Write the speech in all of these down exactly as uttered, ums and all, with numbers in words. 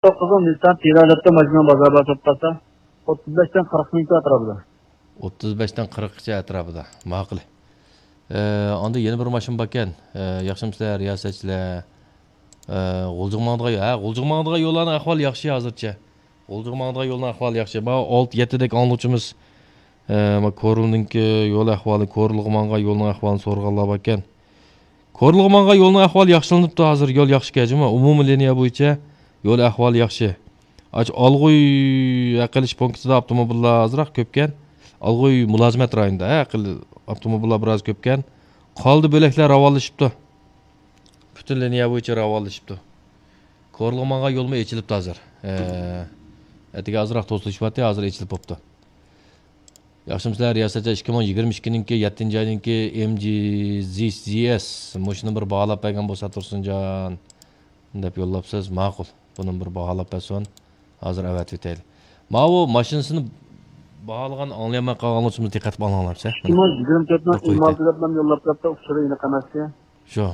توققۇزىنچى نىسسان تىرا دەپتۇ، ماشىنىنىڭ بازار باھاسى بولۇپ قالسا، ئوتتۇز بەشتىن قىرىق مىڭ ئەتراپىدا. ئوتتۇز بەشتىن قىرىققىچە ئەتراپىدا. ماقۇل. ئە، ئاندا يەنە بىر ماشىنا باركەن. ئە، ياخشىمۇسىلەر، رىياسەتچىلەر؟ ئە، غۇلجىغا ماڭىدىغان يول، ھە، غۇلجىغا ماڭىدىغان يوللارنىڭ ئەھۋالى ياخشى ھازىرچە. غۇلجىغا ماڭىدىغان يولنىڭ ئەھۋالى ياخشى. ماۋۇ ئالتە، يەتتىدەك ئاڭلىغۇچىمىز، ئە، ما كورلىنىڭكى يول ئەھۋالى، كورلىغا ماڭغان يولنىڭ ئەھۋالىنى سورىغانلار باركەن. كورلىغا ماڭغان يولنىڭ ئەھۋالى ياخشىلىنىپتۇ ھازىر، يول ياخشىكەن جۇمۇ. ئومۇمىي لىنىيە بويىچە يول ئەھۋالى ياخشى. ئاچ ئالغۇي ھەق ئېلىش پونكىتىدا ئاپتوموبىللار ئازراق كۆپكەن. ئالغۇي مۇلازىمەت رايونىدا ھەق ئېلىش ئاپتوموبىللار بىراز كۆپكەن. قالدى بۆلەكلەر راۋانلىشىپتۇ. پۈتۈن لىنىيە بويىچە راۋانلىشىپتۇ. كورلىغا ماڭغان يولمۇ ئېچىلىپتۇ ھازىر. ئە، ئەتىگە ئازراق توسۇلۇشۇۋاتتى، ھازىر ئېچىلىپ بوپتۇ. ياخشىمۇسىلەر رىياسەتچى؟ ئىككى مىڭ يىگىرمە ئىككىنىڭكى يەتتىنچى ئاينىڭكى ئېم جى زى ئېس مۇشۇنى بىر باھالاپ بەرگەن بولسا تۇرسۇنجان دەپ يوللاپسىز. ماقۇل. بۇنى بىر باھالاپ بەرسۇن. ھازىر ئەۋەتىۋېتەيلى. ماۋۇ ماشىنىسىنى باھالىغان ئاڭلىيالماي قالغان بولسىمىز دىققەت قىلىپ ئاڭلاڭلار. مانا يىگىرمە تۆتنىڭ ئېم ئالتە دەپ يوللاپ بېرىپتۇ، ئۇچۇرى ئېنىق ئەمەسكەن. شۇ.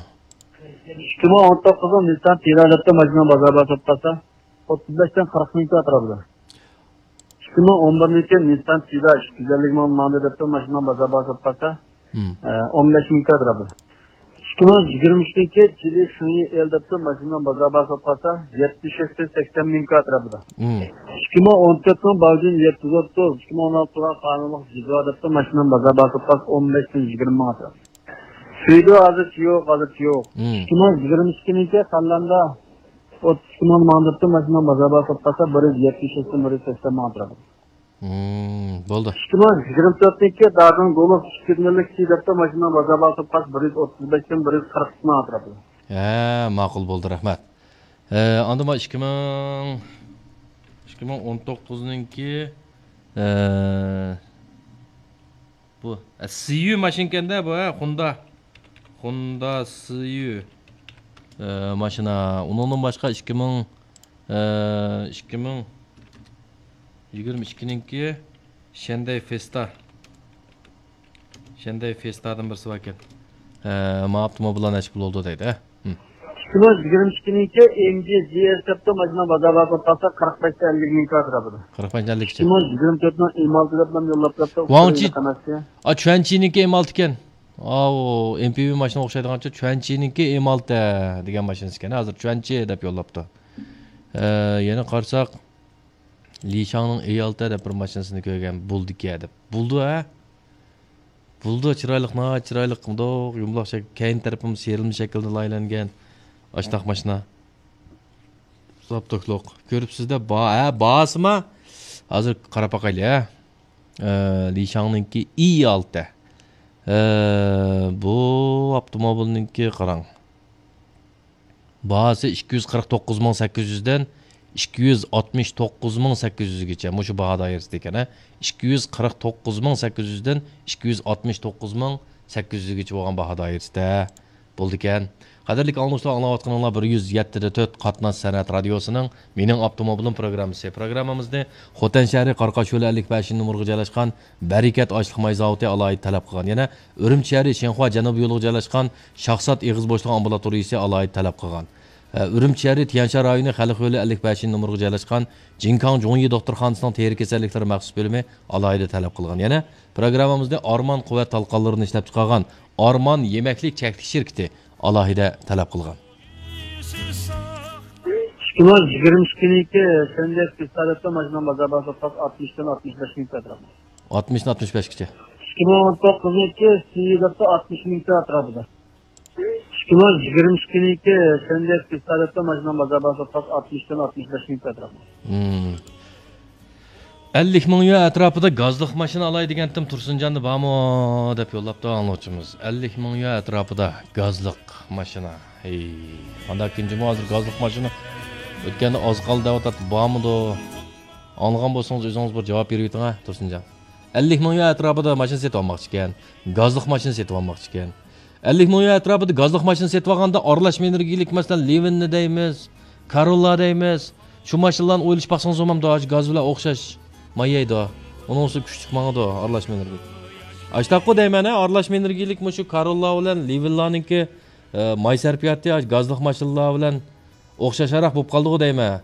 ئىككى مىڭ ئون توققۇزنىڭ نىسسان تىرا دەپتۇ، ماشىنىنىڭ بازار باھاسى بولۇپ قالسا، ئوتتۇز بەشتىن قىرىق مىڭ ئەتراپىدا. ئىككى مىڭ ئون بىرنىڭكى نىسسان تىرا ئىككى يۈز ئەللىك مىڭ ماڭدى دەپتۇ، ماشىنىنىڭ بازار باھاسى بولۇپ قالسا، ئە، ئون بەش مىڭ ئەتراپىدا. ئىككى مىڭ يىگىرمە ئۈچنىڭكى جىلى خېڭيى ئېل دەپتۇ، ماشىنىنىڭ بازار باھاسى بولۇپ قالسا، يەتمىش يەتتە سەكسەن مىڭ ئەتراپىدا. ئىككى مىڭ ئون تۆتنىڭ باۋجىن يەتتە يۈز ئوتتۇز، ئىككى مىڭ ئون ئالتىغا قانۇنلۇق جىزۋا دەپتۇ، ماشىنىنىڭ بازار باھاسى بولۇپ قالسا، ئون بەشتىن يىگىرمە مىڭ ئەتراپىدا. سۈيدۈ ھازىرچە يوق، ھازىرچە يوق. ئىككى مىڭ يىگىرمە ئىككىنىڭكى سانلامدا ئوتتۇز ئىككى مىڭ ماڭدۇرتتۇم، ماشىنا بازار باھاسى بولۇپ قالسا، بىر يۈز يەتمىش ئۈچتىن بىر يۈز سەكسەن مىڭ ئەتراپىدا. مم، بولدى. ئىككى مىڭ يىگىرمە تۆتنىڭكى دادىڭ گولف ئىككى يۈز مىڭلىك سى دەپتۇ، ماشىنا بازار باھاسى بولۇپ قالسا، بىر يۈز ئوتتۇز بەشتىن بىر يۈز قىرىق مىڭ ئەتراپىدا. ھە، ماقۇل بولدى، رەھمەت. ئە، ئاندىن ما ئىككى مىڭ، ئىككى مىڭ ئون توققۇزنىڭكى، ئە، بۇ، ئە، سىيۈ ماشىنىكەندە بۇ، ھە، خوندا. خوندا سىيۈ، ئە، ماشىنا. ئۇنىڭدىن باشقا ئىككى مىڭ، ئە، ئىككى مىڭ يىگىرمە ئىككىنىڭكى شەندەي فېستا. شەندەي فېستادىن بىرسى باركەن. ئە، ما ئاپتوموبىللار نەچچە پۇل بولدى دەيدۇ، ھە؟ ھىم. ئىككى مىڭ يىگىرمە ئىككىنىڭكى ئېم جى زى ئېس دەپتۇ، ماشىنا بازار باھاسى بولۇپ قالسا، قىرىق بەشتىن ئەللىك مىڭ ئەتراپىدا. قىرىق بەشتىن ئەللىك ئىككى مىڭ يىگىرمە تۆتنىڭ ئېم ئالتە دەپ يوللاپ بېرىپتۇ، ۋاڭچى. ئۇچۇرى ئېنىق ئەمەسكەن. ئا، چۈەنچىنىڭكى ئېم ئالتە ئىكەن. ئاۋۇ، ئېم پى ۋى ماشىنىغا ئوخشايدىغانچە، چۈەنچىنىڭكى ئېم ئالتە دېگەن ماشىنىسى ئىكەن. ھازىر چۈەنچى دەپ يوللاپتۇ. ئە، يەنە قارىساق، لىشاڭنىڭ ئېي ئالتە دەپ بىر ماشىنىسىنى كۆرگەن، بولىدىكەن دەپ. بولىدۇ، ھە؟ بولىدۇ، چىرايلىق، ناھايىتى چىرايلىق، مۇنداق يۇمىلاق شەكىل، كەينى تەرىپىمۇ سىيرىلما شەكىلدە لايىھەلەنگەن. ئاشتاق ماشىنا. زاپتوكلۇق. كۆرۈپسىز-دە، با-، ھە، باھاسىما؟ ھازىر قاراپ باقايلى، ھە. ئە، لىشاڭنىڭكى ئېي ئالتە. ئە، بۇ ئاپتوموبىلنىڭكى قاراڭ. باھاسى ئىككى يۈز قىرىق توققۇز مىڭ سەككىز يۈزدىن ئىككى يۈز ئاتمىش توققۇز مىڭ سەككىز يۈزگىچە مۇشۇ باھا دائىرىسىدىكەن، ھە. ئىككى يۈز قىرىق توققۇز مىڭ سەككىز يۈزدىن ئىككى يۈز ئاتمىش توققۇز مىڭ سەككىز يۈزگىچە بولغان باھا دائىرىسىدە بولىدىكەن. قەدىرلىك ئاڭلىغۇچىلار، ئاڭلاۋاتقىنىڭلار بىر يۈز يەتتە دە تۆت قاتناش سەنئەت رادىيوسىنىڭ مېنىڭ ئاپتوموبىلىم پروگراممىسى. پروگراممىمىزنى خوتەن شەھىرى قارقاش يولى ئەللىك بەشىنچى نومۇرغا جايلاشقان بەرىكەت ئاشلىق ماي زاۋۇتى ئالاھىدە تەلەپ قىلغان. يەنە ئۈرۈمچى شەھىرى شىنخۇا جەنۇبىي يولىغا جايلاشقان شاھزات ئېغىز بوشلۇق ئامبۇلاتورىيىسى ئالاھىدە تەلەپ قىلغان. ئە، ئۈرۈمچى شەھىرى تيەنشان رايونى خەلق يولى ئەللىك بەشىنچى نومۇرغا جايلاشقان جىنكاڭ جۇڭيى دوختۇرخانىسىنىڭ تېرە كېسەللىكلىرى مەخسۇس بۆلۈمى ئالاھىدە تەلەپ قىلغان. يەنە پروگراممىمىزنى ئارمان قۇۋۋەت تالقانلىرىنى ئىشلەپچىقارغان ئارمان يېمەكلىك چەكلىك شىركىتى ئالاھىدە تەلەپ قىلغان. ئىككى مىڭ يىگىرمە ئىككىنىڭكى شەنجەي پىستالېتتا ماشىنىنىڭ بازار باھاسى ئاتمىشتىن ئاتمىش بەش مىڭ ئەتراپىدا. ئاتمىشتىن ئاتمىش بەشكىچە. ئىككى مىڭ ئون توققۇزنىڭكى سىيىگاتتا ئاتمىش مىڭ ئەتراپىدا. ئىككى مىڭ يىگىرمە ئىككىنىڭكى شەنجەي پىستالېتتا ماشىنىنىڭ بازار باھاسى ئاتمىشتىن ئاتمىش بەش مىڭ ئەتراپىدا. مم. ئەللىك مىڭ يۈەن ئەتراپىدا گازلىق ماشىنا ئالاي دېگەنتىم، تۇرسۇنجاندا بارمۇ دەپ يوللاپتۇ ئاڭلىغۇچىمىز. ئەللىك مىڭ يۈەن ئەتراپىدا گازلىق ماشىنا. ھەي، قانداق كىنجىمۇ ھازىر گازلىق ماشىنا؟ ئۆتكەندە ئاز قالدى دەۋاتاتتى، بارمىدۇ؟ ئاڭلىغان بولسىڭىز ئۆزىڭىز بىر جاۋاب بېرىۋېتىڭ ھە، تۇرسۇنجان. ئەللىك مىڭ يۈەن ئەتراپىدا ماشىنا سېتىۋالماقچىكەن. گازلىق ماشىنا سېتىۋالماقچىكەن. ئەللىك مىڭ يۈەن ئەتراپىدا گازلىق ماشىنا سېتىۋالغاندا ئارىلاشما ئېنېرگىيىلىك، مەسىلەن، لىۋىننى دەيمىز، كاروللا دەيمىز. شۇ ماشىنىلارنى ئويلىشىپ باقسىڭىز بولمامدۇ؟ ھازىر گاز بىلەن ئوخشاش مايايدۇ. ئۇنىڭ ئۈستىگە كۈچلۈك ماڭىدۇ ئارىلاشما ئېنېرگىيىلىك. ئاشتاققۇ دەيمەن ھە، ئارىلاشما ئېنېرگىيىلىك مۇشۇ كاروللا بىلەن لىۋىنلارنىڭكى، ئە، ماي سەرپىياتى گازلىق ماشىنىلار بىلەن ئوخشاشراق بولۇپ قالدىغۇ دەيمەن.